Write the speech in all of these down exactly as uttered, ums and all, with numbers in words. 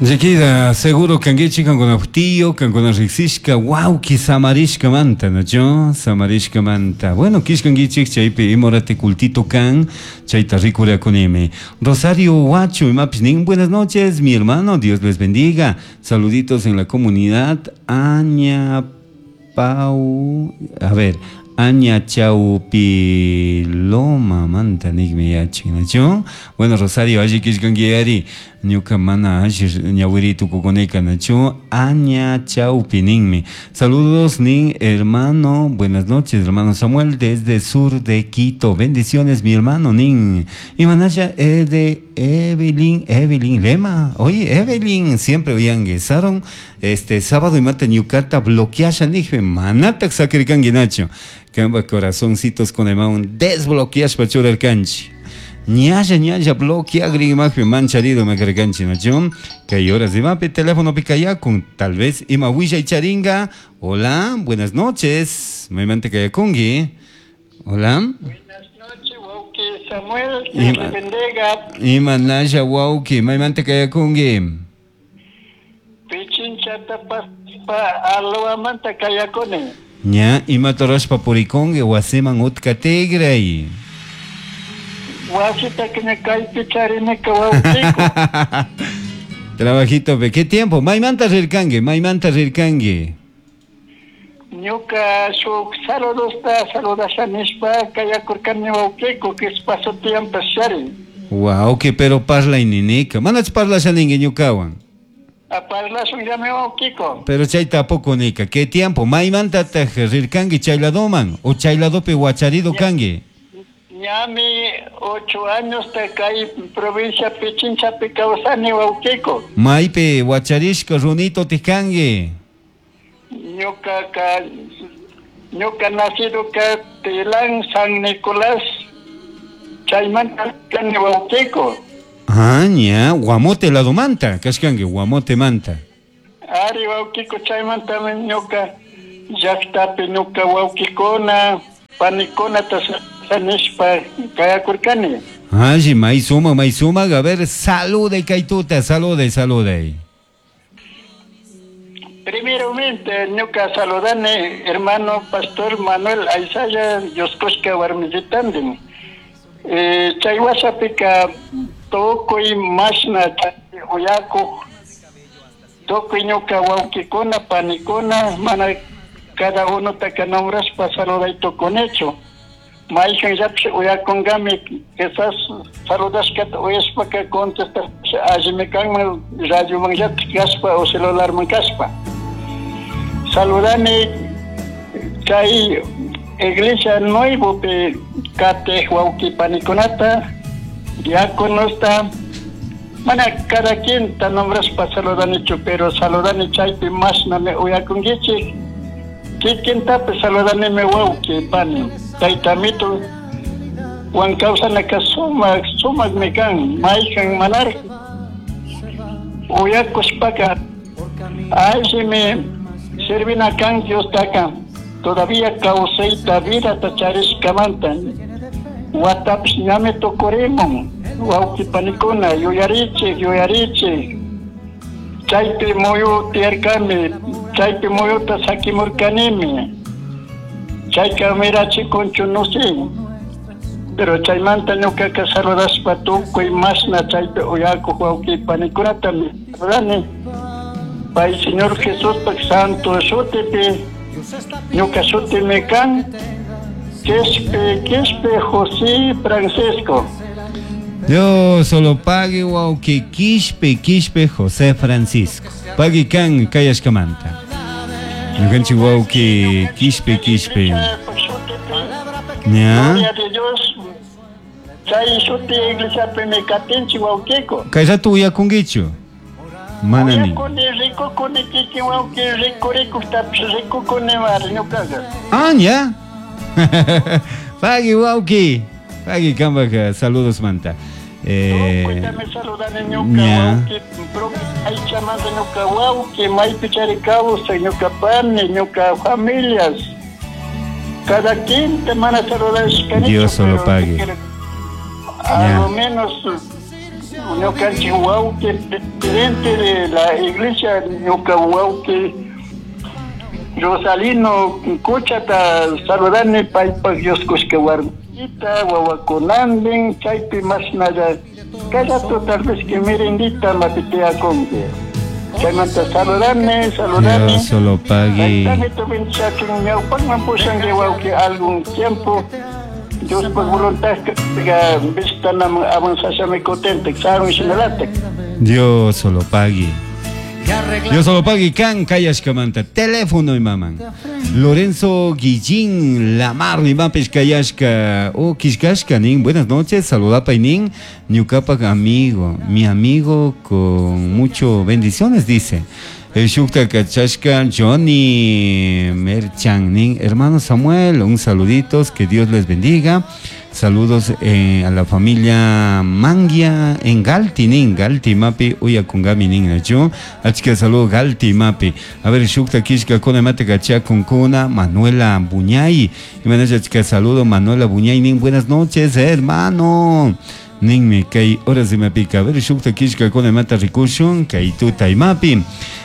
Chiquita, seguro kankichik kankuna tío, kankuna riqsishka, wawki samarishkamanta, ¿no? Samarishkamanta. Bueno, kishkankichik chaypi imorate cultito kan, chayta rikurakunimi. Rosario Huacho, imapis nin, buenas noches, mi hermano, Dios les bendiga. Saluditos en la comunidad, Aña Pau, a ver, Aña Chaupiloma manta nigmi yachin, ¿no? Bueno, Rosario, alli kishkanki ñuka mana alli ñawiri tukukunika, ¿no? Aña Chaupi ninmi. Saludos, nin hermano, buenas noches, hermano Samuel, desde sur de Quito. Bendiciones, mi hermano, nin. Y manaya de Evelyn, Evelyn Lema. Oye, Evelyn, siempre oigan, guesaron este sábado y mate ñukata bloqueasha nijme, manatak sakirkanki nacho. Kamba corazoncitos con el maun desbloqueashpa churarkanchi. Ñalla ñalla bloqueagri imajpi mancharido makarkanchi nacho. Que horas de mape teléfono picayakun, tal vez ima huilla y charinga. Hola, buenas noches. Maymanta kayakungi. Hola. Buenas noches, wauki Samuel, Dios le bendiga. Ima nasha wauki, maymanta kayakungi. Pichinchata paspa alwamanta kayakuni. Ña, ima torashpa purikungi wasiman utka tigray. Wasita kina kaypi charinika wawkiku. Trabajito, pe, ¿qué tiempo? Maymanta rirkangi, maymanta rirkangi. Ñuka shuk saludosta saludasha nishpa kayakurkani wawkiku, kispaso tiempo shari. Wawki, pero parla ininika. Manach parlasha ningi ñukawan. A parlashun llame wawkiku. Pero chay tampoco nika. ¿Qué tiempo? Maymanta taj rirkangi chayladoman o chayladopi wacharido kangi. Ñami ocho años te kay provincia Pichinchapi kawsani wawkiku. Maypi wacharishka runito tikangi. Ñuka ka ñuka nacido ka Tilán San Nicolás chaymanta kani wawkiku. Ah, ña, Guamote ladomanta, kashkangi Guamote manta. Ari wawkiku chaymanta ñuka llaqtapi ñuka wawkikuna panikuna nishpa kayakurkani. Ay, maizuma, maizuma, a ver, salude kaituta, salude, salude. Primeramente, ñuka saludane, hermano pastor Manuel Aisaya, Yoskoshka warmillitandin. Eh, chay wasapika tukuy mashna uyakuq, tukuy ñuka wawkikuna, panikuna, mana cada uno taka nombraspa saluday tukunichu. Mayhan llapshi uyakungami, quizás saludashkata uyashpaka contestasha allimi kanman radioman llatik kaspa o celularman kaspa. Saludani chay iglesia nuevopi katej wawki panikunata, diáconosta, mana cada quien ta nombraspa saludanichu, pero saludani chaypi mashnami uyakunkichik. Kikintapi saludanimi wawki pani. Taytamito wan kawsanaka sumaq sumaqmi kan mayhan manar uyakushpaka allimi servina kan Diostaka todavía kawsayta vidata charishkamanta watapish ñami tukurimun wawki panikuna yuyarichik yuyarichik chaypi muyu tiyarkami chaypi muyuta sakimurkanimi. Chayka mirachikunchu no sé, pero chaymanta ñukaka saludashpa tukuy mashna chaypi uyakuq wawki panikunata saludani. Pay Señor Jesuspak santo shutipi ñuka shutimi kan Quispe Quispe José Francisco. Dios solo pague wawki Quispe Quispe José Francisco. Pague kan kayashkamanta. Ñukanchik wawki Quispe Quispe. ¿Ya? Gloria de Dios. Chay shuti iglesiapimi katinchik wawkiku. Kay rato uyakunkichu? Mana ni. Uyakuni rikukuni kikin wawki rikurikuktapish rikukuni mari ñukaqa. Ah, ya. Pagui wawki. Pagui kambak saludos manta. Eh, Tukuytami saludani ñuka wawki aychamanta ñuka wawki maypi chari kawsay ñuka pani ñuka familias. Cada quien te mana saludashkanichu. Dios solo pague. A lo menos Ñukanchik wawqi presidente de la iglesia ñuka wawqi Rosalino Kuchata saludani paypak Dios kushka warmita wawakunandin chaypi mashnalla kay rato tal vez que merendita mapitiakunki. Chaymanta saludani, saludani. Dios solo pague. Taytani ñawpaqman pushanki wawqi algún tiempo. Dios por voluntad que vistana avanzashami contente, sarun shinalatek. Dios solo pague. Dios solo pague kan kayashkamanta teléfono y maman. Lorenzo Guillín Lamar mi mapes kayashka o kishkashka nin. Buenas noches, saludapa y nin ñukapak amigo, mi amigo con mucho bendiciones dice. El Shukta Kachashka Johnny Merchan nin, hermano Samuel, un saluditos, que Dios les bendiga. Saludos eh, a la familia Mangia en Galti nin, Galti mapi uyakungami nin nachu. Achka saludo Galti mapi. A ver, Shukta Kishka kona mate kacha kunkuna Manuela Buñay. Y achka saludo Manuela Buñay nin, buenas noches, hermano. Ninmi kay horas de mapica. A ver, Shukta Kishka kona mata rikushun kay tuta imapi.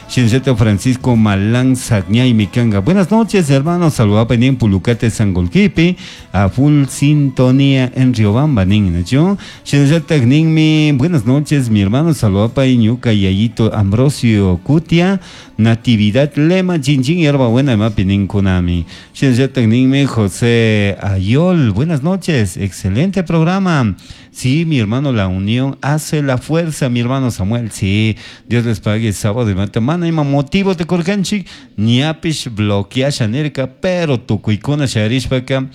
Shinseto Francisco Malán Sagñay Mikanga. Buenas noches, hermanos. Saludaba en Pulucate Sangolquipi. A full sintonía en Riobamba, nin, ¿no? Shinseto Ninmi. Buenas noches, mi hermano. Saludaba en Ñuca Yayito Ambrosio Cutia. Natividad Lema Chin Hierba Buena Mapi nin Kunami. Shinseto Ninmi José Ayol. Buenas noches. Excelente programa. Sí, mi hermano, la unión hace la fuerza, mi hermano Samuel. Sí, Dios les pague sábado de mata. Mana ima motivo te korkanchik, ñapish bloqueasha nirka, pero tukuykuna sharishpaka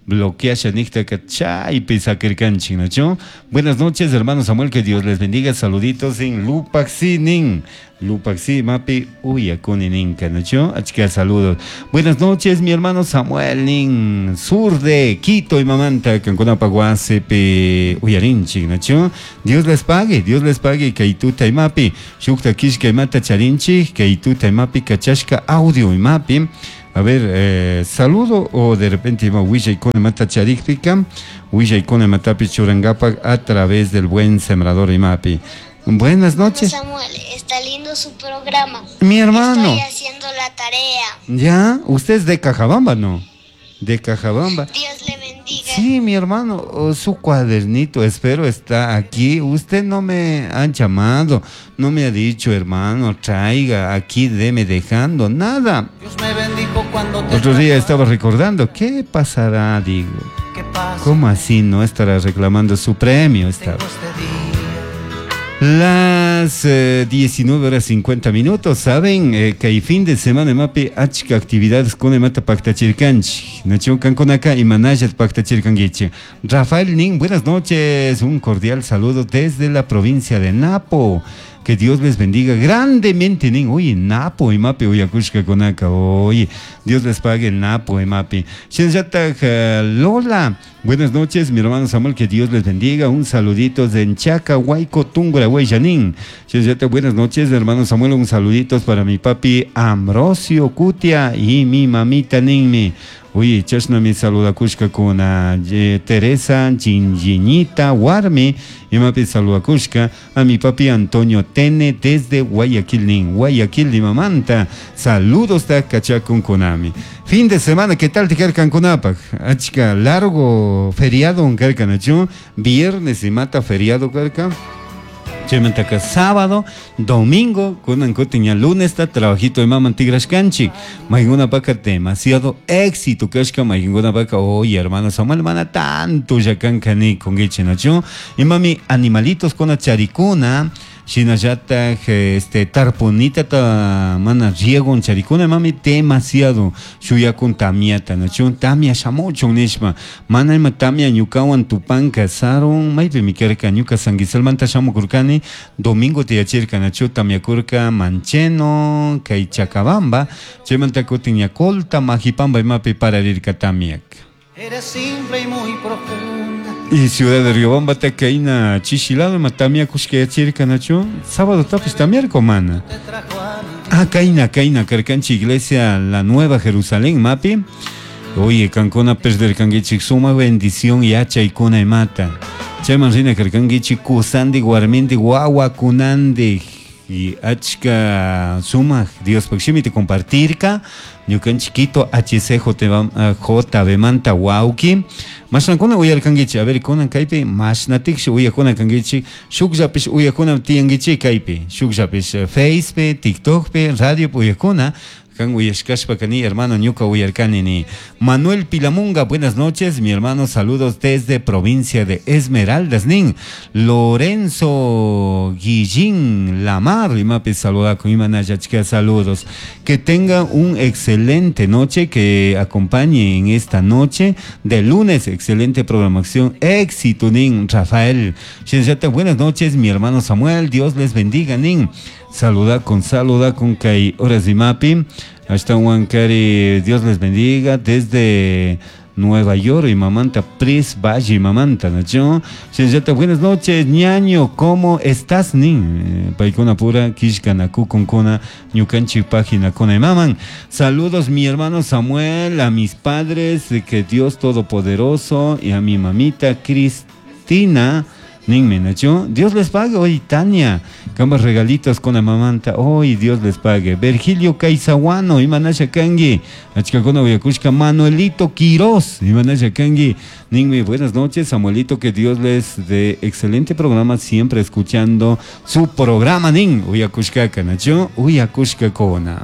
bloqueasha niktaka chaypi sakirkanchik, ¿no? Buenas noches, hermano Samuel, que Dios les bendiga. Saluditos en Lupaxi nin. Lupaxi mapi uyakuni ninka, ¿no? Achka saludos. Buenas noches, mi hermano Samuel nin, sur de Quito y mamanta kankunapa wasipi uyarinchik, ¿no? Dios les pague, Dios les pague kaytuta imapi. Shukta kishka imata charinchik, kaytuta imapi kachashka audio imapi. A ver, eh, saludo o de repente ima willaykuna mata charikpika, willaykuna matapi churangapak a través del buen sembrador imapi. Buenas noches. Samuel, está lindo su programa. Mi hermano. Estoy haciendo la tarea. Ya, usted es de Cajabamba, ¿no? De Cajabamba. Dios le bendiga. Sí, mi hermano, oh, su cuadernito, espero, está aquí. Usted no me ha llamado, no me ha dicho, hermano, traiga, aquí deme dejando, nada. Dios me bendijo cuando te Otro día estaba recordando, ¿qué pasará? Digo, ¿qué pasa? ¿Cómo así no estará reclamando su premio? Estaba. Las eh, diecinueve horas cincuenta minutos, saben eh, que hay fin de semana mapi achka actividades con mata pactachirkanchi, nacho kankonaka y manayat pactachirkanguichi. Rafael Nin, buenas noches, un cordial saludo desde la provincia de Napo. Que Dios les bendiga grandemente, nin. Oye, Napo y mapi, oye, konaka, oye, Dios les pague el Napo y mapi. Shinzata Lola, buenas noches, mi hermano Samuel, que Dios les bendiga. Un saludito de Enchaca, Huayco, Tungura, Hueyanín. Shinzata, buenas noches, hermano Samuel, un saludito para mi papi Ambrosio Cutia y mi mamita Ninmi. Oye, chashna mi saludakushka con eh, Teresa Chingiñita Warmi y mapi saludakushka a mi papi Antonio Tene desde Guayaquil nin, Guayaquil Limamanta. Saludos ta kachakun konami. Fin de semana, ¿qué tal te carcan konapak? Achka largo feriado un carcanachu, viernes y mata feriado carca. Chemantaka sábado, domingo, kunan kutiña lunes ta trabajito de maman tigrashkanchik. Mayguna paka demasiado éxito kashka mayguna paka, oye hermano Samuel mana tanto yakanka ni kongichi nachu. Y mami animalitos con charicuna, shinallata este tarpunita ta mana riego charicuna mami demasiado shuyakun tamiata nachu tamia shamuchun nishma mana ima tamia ñukawan tupanka sarun maypi mikarka ñuka sanguisalmanta shamukurkani domingo tiyachirka nachu tamiakurka mancheno kay Chacabamba chaymanta kutin ñacolta Majipamba imapi pararirka tamiak. Eres simple y muy profunda. Y Ciudad de Riobamba te caína chichilado matamia kushkeyachirka nachu sábado tapis tamiarco mana. Ah, caína caína carcanchi iglesia la Nueva Jerusalén mapi. Oye, cancona perder canguichik suma bendición y hacha y cona y mata. Chayman rina karkankichik kusandik warmindik wawakunandik y achka sumaq Diospaq shimita compartirka ñukanchik Quito H C J B manta wawki mashnakuna uyarkankichik a ver kunan kaypi mashnatikshi uyakuna kankichik shukllapish uyakuna tiyankichik kaypi shukllapish Facepi TikTokpi radiopi uyakuna kan uyashkashpa kani hermano ñuka uyarkani ni Manuel Pilamunga, buenas noches mi hermano, saludos desde provincia de Esmeraldas nin Lorenzo Guillín Lamar imapi saluda con imanayachka saludos, que tenga un excelente noche, que acompañe en esta noche de lunes, excelente programación, éxito nin Rafael Shinshata, buenas noches mi hermano Samuel, Dios les bendiga nin saluda con saluda con kai horas de mapi hasta Huancari, Dios les bendiga desde Nueva York y mamanta Pris Valle y mamanta nacho Shinshata, buenas noches ñaño, ¿cómo estás nin? Paikuna pura kishkanaku konkuna ñukanchik página kona maman. Saludos mi hermano Samuel, a mis padres, que Dios todopoderoso y a mi mamita Cristina Ninme, Nacho, Dios les pague hoy, Tania, cambas regalitos con la mamanta, hoy Dios les pague. Virgilio Caizahuano, Imanasha Kangi, Achcacona Uyacushka, Manuelito Quiroz, Imanasha Kangi, Ninme, buenas noches, Samuelito, que Dios les dé excelente programa, siempre escuchando su programa, Nin, Uyacushka, Nacho, Uyacushka Kona.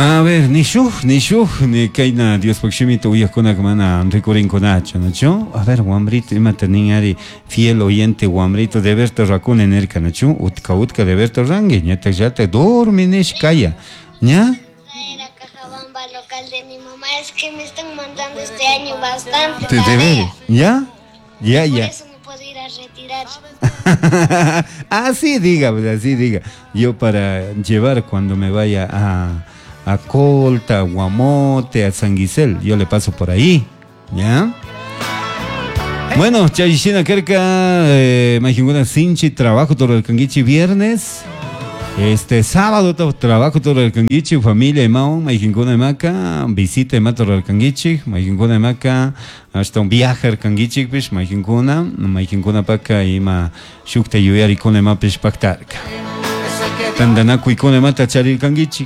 A ver, ni shuj, ni shuj, ni kaina Dios pakshimito uyakuna mana rikurinkunachu, nachu? A ver, wambrito, imata nin ari fiel oyente wambrito de verte rakune nerka, nachu? Utka utka de verte rangi, ñata yata dormi nish kaya, ¿ña? Era Cajabamba local de mi mamá, es que me están mandando este año bastante Te debe, ¿ya? Ya, ya. Por eso no puedo ir a retirar. Así diga, pues así diga. Yo para llevar cuando me vaya a a Colta, a Guamote, a San Guisel, yo le paso por ahí, ¿ya? Bueno, Chayishina Kerka, eh, Majinguna Sinchi, trabajo todo el canguichi viernes, este sábado trabajo todo el canguichi, familia y maun, Majinguna Maca, visita y mato el canguichi, Majinguna Maca, hasta un viaje al canguichi, pues, Majinguna, Majinguna Paca, ima, Shukta Yuyari con Mapish Pactarca. Tandanaku ikone mata charir kangichi.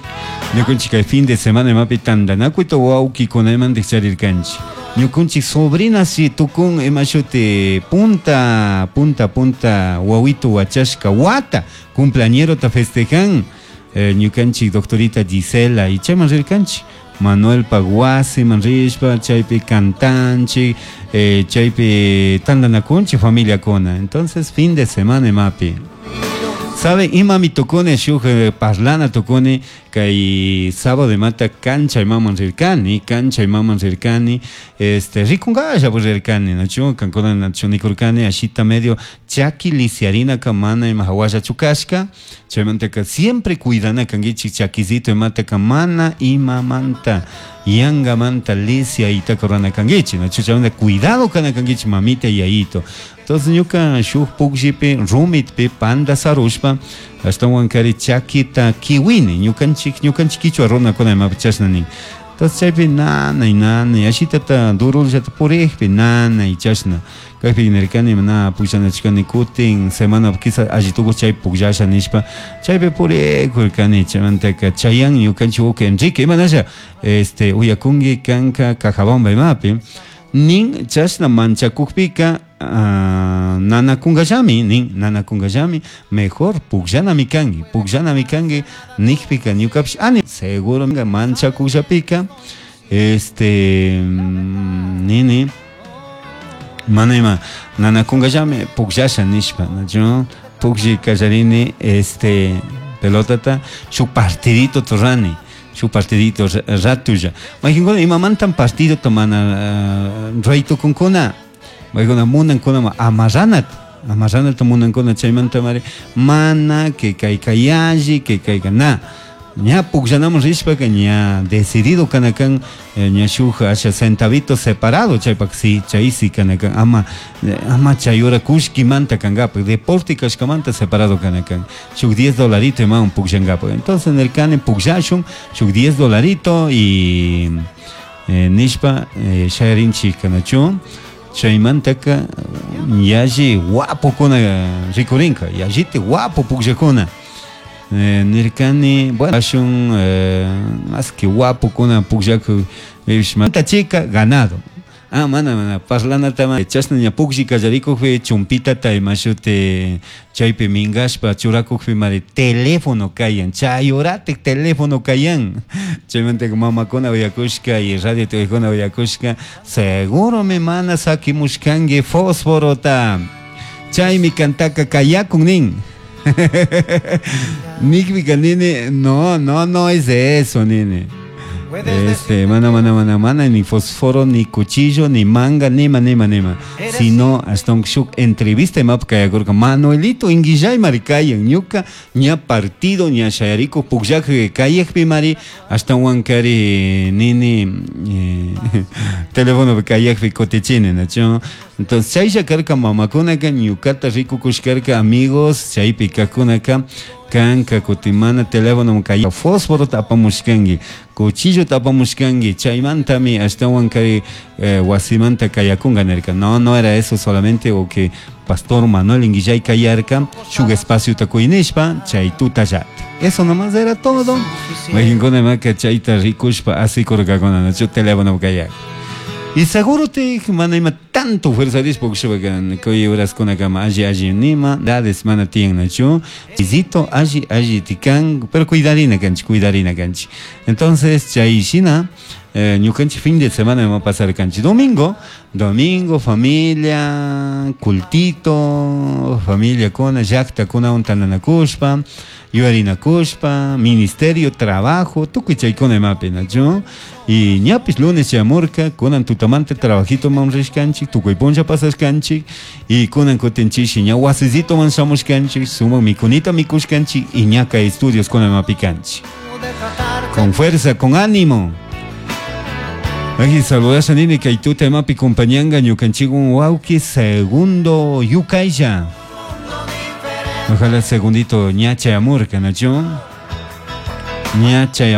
Ñukunchik kay fin de semana imapi tandanaku to wawki kunaman charir kanchi. Ñukunchik sobrina si tukun imashuti punta punta punta wawito wachashka wata cumpleañero ta festejan eh, ñukanchik doctorita Gisela y chayman rirkanchik. Manuel Paguasi manrishpa chaypi cantanchi eh, chaypi tandanakunchik familia kona. Entonces fin de semana imapi. ¿Sabe? Imami tocone, shuj parlana tocone, kay sábado de mata cancha y maman rirkani, cancha y maman rirkani, este, rikungaya pues rirkani, nacho, cancona nacho nikurkani, ashita medio, chaki lisiarina kamana y mahawaya chukashka, chaymantaka siempre cuidana kangichi chakizito y mata kamana y mamanta, yanga manta lisia y takorana kangichi, nacho, chaymanta cuidado kana kangichi mamita y ayito. Entonces ñuka shuj pukllpi rumitpi panda sarushpa ashtawan kari chakita kiwini ñukanchik ñukanchik kichwa runakuna imapi chashna nin. Entonces chaypi nanay nanay ashitata durullata purikpi nanay chashna kaypi nirkani na pukllanachikani kutin semana quizá allitukush chay pukllasha nishpa chaypi purikurkani chaymantaka chayan ñukanchik uka Enrique imanasha este uyakunki kanka Cajabamba imapi nin chashna manchakukpika Uh, nanakunkallami nin nanakunkallami mejor pukllanami kanki pukllanami kanki nikpika ñukapish ani seguro manchakullapika este nini mana ima nanakunkallami pukllasha nishpa nachu puklli kallarini este pelotata shuk partidito turani su partidito ratulla majinkuna imamantan partido mana uh, raytukunkuna Maykuna munankuna amarranat amarranat munankuna chaymanta mari mana que kay kayalli que kayka na ña pukllanaman rishpaka ña decidido kanakan ña shuk asha centavito separado chaypak si chaysi kanakan ama ama chayura kushkimanta kankapak deporte kashkamanta separado kanakan shuk diez dolarito imawan pukllankapak entonces nirkani pukllashun shuk diez dolarito y eh, nishpa eh, shayarinchik nachu chaymantaka yalli guapokuna rikurinka yalliti guapo pukllakuna eh, nirkani bueno ashun eh, más que guapokuna pukllaku chica ganado. Ah, mana, mana, parlanata chashna ña puklli kallarikukpi chumpitata imashuti chaypi minkashpa churakukpi mari teléfono kayan chay horatik teléfono kayan. Chaymantaka mamakuna uyakushka y radio tuyaykuna uyakushka seguro mi mana sakimushkanki fósforota chaymi kantaka kayakun nin. Nikpika nini no, no, no es eso nini. Este, mana, mana, mana, mana, ni fósforo, ni cuchillo, ni manga, ni ma, ni ma, ni ma. Sino hasta un shuk entrevista y map kayakurka Manuelito inguillay marikayan ñuka ña partido ña shayariku pukllak kayakpi mari hasta wankari nini eh, teléfono kayakpi kutichini nacho. Entonces chaylla karka mamakunaka ñukata rikukushkarka amigos chaypi kakunaka kanka kutimana teléfono kay fósforo tapamushkanki cuchillo tapamushkanki chaymantami ashtawan kay eh, wasimanta kayakunka nirka. No, no era eso solamente o que pastor Manuel Inguillay kayarka shuk espacio takuynishpa chay tutallati. Eso nomás era todo. Majinkuna maka chayta rikushpa asikurkakuna nachu teléfono kayak. Y seguro te mana ima tanto fuerza dispo que kay horas kuna kama alli alli nima dades mana tiyan nachu visito alli alli tikan pero cuidarina kanchi cuidarina kanchi. Entonces chay shina eh, ñukanchik fin de semana va a pasar kanchi domingo domingo familia cultito familia kuna llakta kuna untananakushpa yuyarinakushpa ministerio trabajo tukuy chaykuna imapi nachu y ñapis lunes chamurka kunan tutamanta trabajito man rishkanchik tukuy punlla pasashkanchik y kunan kutinchishi ña wasisito man shamushkanchik sumak mikunita mikushkanchik y ña kay estudios kuna imapi kanchik con fuerza con ánimo. Aquí saludas a nini kay tuta imapi compañanga ñukanchikwan wawki segundo yukaylla. Ojalá segundito ña chayamurka nachu ña chayamurka.